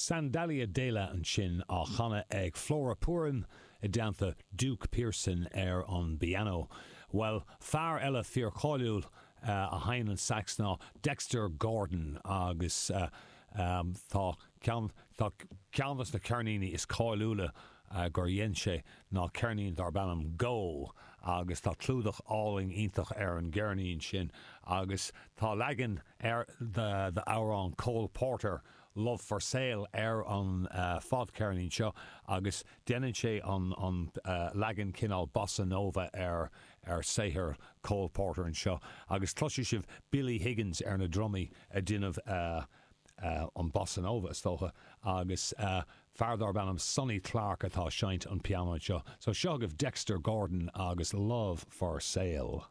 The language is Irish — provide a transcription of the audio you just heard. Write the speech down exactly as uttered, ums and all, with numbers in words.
Sandalia Dela ansin á chanadh ag Flora Purim i dteannta Duke Pearson ar an bpianó. Well fear eile fíorcháiliúil uh, a sheinneann an sax ná Dexter Gordon agus uh, um, tá ceann de na ceirníní is cáiliúla uh, gur dhein sé ná ceirnín darb ainm Go agus tá clúdach álainn iontach ar an gceirnín sin agus tá leagan ar the, the amhrán Cole Porter Love for Sale ar an uh, fadcheirnín seo agus déanann sé an, an uh, leagan cineál bossa nova ar ar saothar Cole Porter anseo agus cloisfidh sibh Billy Higgins ar na drumaí ag déanamh uh, uh, an bossa nova is dócha agus uh, fear darb ainm Sonny Clark atá ag seinnt an pianó seo, so seo agaibh Dexter Gordon agus Love for Sale.